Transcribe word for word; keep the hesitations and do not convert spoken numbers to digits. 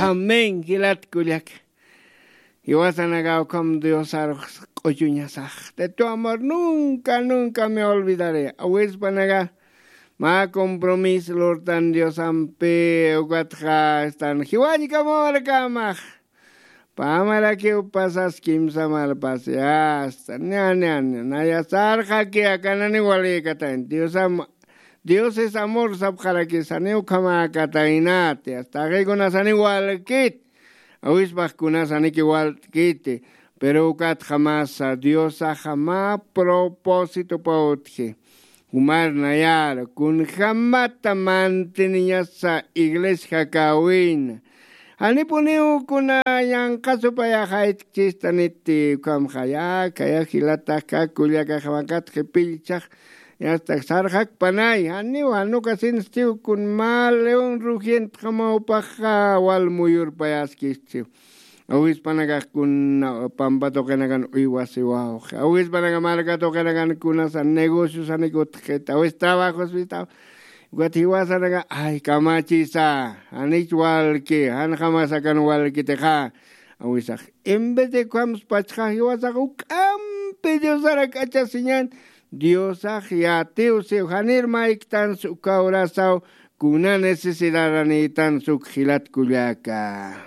Amén jilat kullaka. Jiwasanaka ukham diosarux q'uchuñasax de tu amor nunca nunca me olvidaré awispanaka. Mä compromis lurtan diosampi ukatxa estan jiwañkamawarkamax. Pamarakiw pasas kimsa malpasi asta ña ña ña naya sarxaki akanani walïkatayn diosam. Diosis amor sapxarakisaniw ukhamäkataynati asta aqikunasani walkit. Awispaxkunasaniki walt'kiti. Pero ukatxa masa diosaxa mä propósitopa utji. Jumar nayar kunjämata mantiniñasa iglesia jakawina. Janipuniw kuna yanqha supayaxaytkchistaniti ukhamxaya khaya jilatax kakullakaxamakatxi pillchax. Yastak sarxakpanay janiw janukasinstiw kun mä león rugientxamawpaxa wal muyurpayaskistiw. Awispanakaxkuna pampa tuqinakan uywasiwawxi awispanaka marka tuqinakan kunasa negociosanik utxkita awis trabajospitaw. Ukat jiwasanaka ay kamachisa janich walki janxamasakan walkitixa. Awisax en vez de ukhamspachxa jiwasax uk'ampi diosarak achasiñan. Diosax yatiw siw janir mayktansa uka horasaw kuna necesidaranïtansa uk jilat kullaka.